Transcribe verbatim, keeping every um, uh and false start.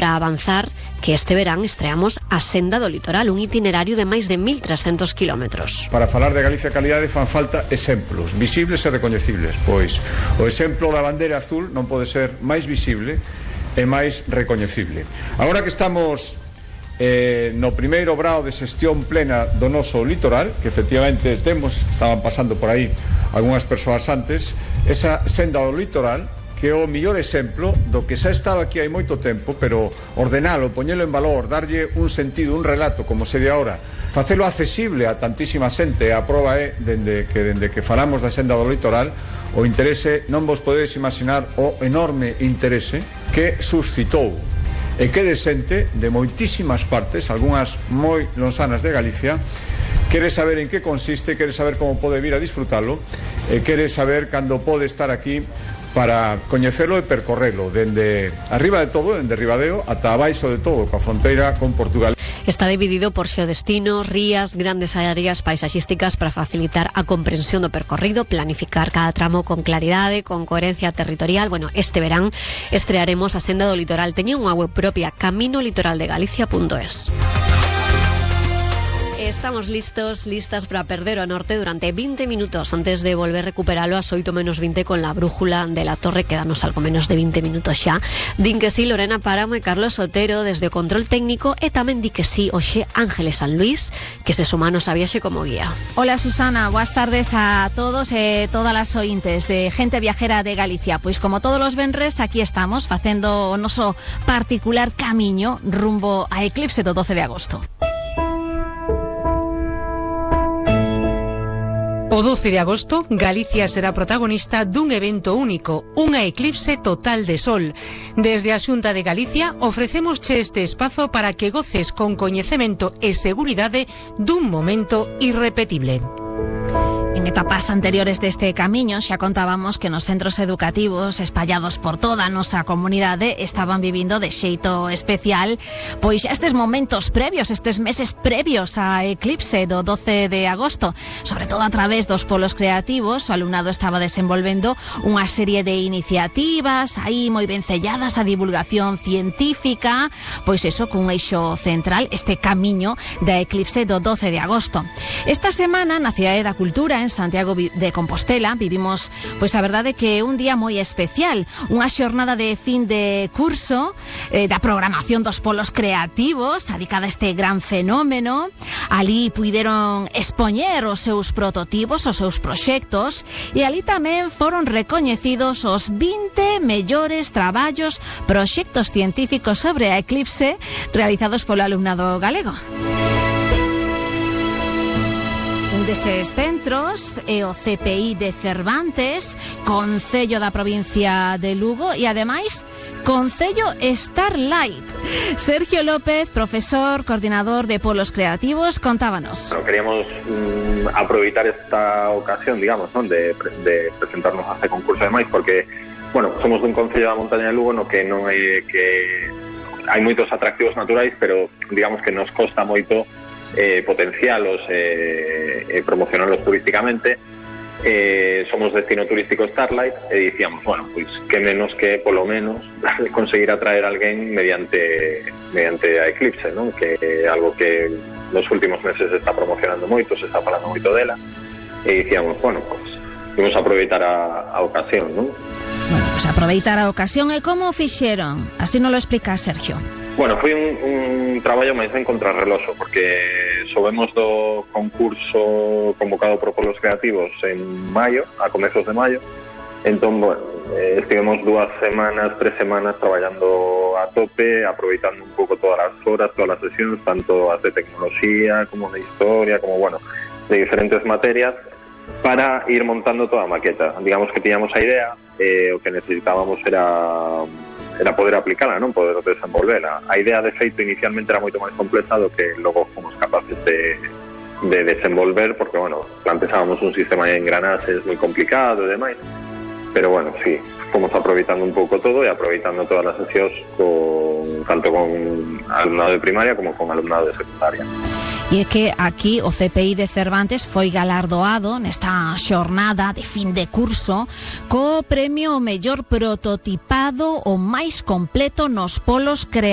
para avanzar que este verán estreamos a Senda do Litoral, un itinerario de máis de mil trescentos kilómetros. Para falar de Galicia calidade fan falta exemplos visibles e recoñecibles, pois o exemplo da bandeira azul non pode ser máis visible e máis recoñecible. Agora que estamos eh, no primeiro grao de xestión plena do noso litoral, que efectivamente temos, estaban pasando por aí algunhas persoas antes, esa Senda do Litoral, que é o mellor exemplo do que xa estaba aquí hai moito tempo, pero ordenalo, poñelo en valor, darlle un sentido, un relato, como se de agora, facelo accesible a tantísima xente. A proba é, dende que, dende que falamos da Senda do Litoral, o interese, non vos podedes imaginar o enorme interese que suscitou e que de xente de moitísimas partes, algunhas moi lonxanas de Galicia, quere saber en que consiste, quere saber como pode vir a disfrutalo e quere saber cando pode estar aquí para coñecelo e percorrelo dende arriba de todo, dende Ribadeo ata abaixo de todo, coa fronteira con Portugal. Está dividido por xeodestinos, rías, grandes áreas paisaxísticas para facilitar a comprensión do percorrido, planificar cada tramo con claridade, con coherencia territorial. Bueno, este verán estrearemos a Senda do Litoral. Teña unha web propia, camino litoral de galicia punto es. Estamos listos, listas para perder o norte durante veinte minutos antes de volver a recuperarlo a oito menos veinte con la brújula de la torre. Quedanos algo menos de veinte minutos xa. Din que sí Lorena Páramo e Carlos Otero desde o control técnico, e tamén di que sí hoxe Ángeles San Luis, que se suma nos a viaxe como guía. Hola Susana, boas tardes a todos e todas as ointes de Gente Viajera de Galicia. Pois como todos os venres, aquí estamos facendo o noso particular camiño rumbo a Eclipse do doce de agosto. O doce de agosto, Galicia será protagonista dun evento único, unha eclipse total de sol. Desde a Xunta de Galicia ofrecémosche este espazo para que goces con coñecemento e seguridade dun momento irrepetible. En etapas anteriores deste camiño xa contábamos que nos centros educativos espallados por toda a nosa comunidade estaban vivindo de xeito especial pois estes momentos previos, estes meses previos a eclipse do doce de agosto, sobre todo a través dos polos creativos. O alumnado estaba desenvolvendo unha serie de iniciativas aí moi vencelladas a divulgación científica, pois eso cun eixo central, este camiño da eclipse do doce de agosto. Esta semana na Cidade da Cultura en Santiago de Compostela vivimos, pois a verdade que un día moi especial, unha xornada de fin de curso eh, da programación dos polos creativos dedicada a este gran fenómeno. Ali puideron expoñer os seus prototipos, os seus proxectos, e ali tamén foron recoñecidos os vinte mellores traballos, proxectos científicos sobre a eclipse realizados polo alumnado galego. Un deses centros é o C P I de Cervantes, Concello da provincia de Lugo e, ademais, Concello Starlight. Sergio López, profesor, coordinador de polos creativos, contábanos. Bueno, queríamos mm, aproveitar esta ocasión, digamos, ¿no? de, de presentarnos a este concurso ademais, porque, bueno, somos dun Concello da Montaña de Lugo no que non hai que hai moitos atractivos naturais, pero digamos que nos costa moito Eh, potencialos e eh, eh, promocionalos turísticamente. Eh, somos destino turístico Starlight e dicíamos, bueno, pois pues, que menos que polo menos conseguir atraer a alguén mediante mediante a eclipse, ¿no? Que é algo que nos últimos meses se está promocionando moito, se está falando moito dela, e dicíamos, bueno, pois pues, vamos a aproveitar a, a ocasión, ¿no? Bueno, pois pues aproveitar a ocasión. E como fixeron? Así nos lo explica Sergio. Bueno, foi un, un traballo máis en contrarreloxo, porque soubemos do concurso convocado por polos creativos en maio, a comezos de maio. Entón, bueno, estivemos dúas semanas, tres semanas traballando a tope, aproveitando un pouco todas as horas, todas as sesións, tanto as de tecnoloxía como de historia, como, bueno, de diferentes materias, para ir montando toda a maqueta. Digamos que tiñamos a idea, eh, o que necesitábamos era era poder aplicala, non poder desenvolvela. A idea de feito inicialmente era moito máis complexa do que logo fomos capaces de, de desenvolver, porque, bueno, planteábamos un sistema de engranaxes moi complicado e demais, pero, bueno, sí, fomos aproveitando un pouco todo e aproveitando todas as sesións con, tanto con alumnado de primaria como con alumnado de secundaria. E é que aquí o C P I de Cervantes foi galardoado nesta xornada de fin de curso co premio mellor prototipado o máis completo nos polos creativos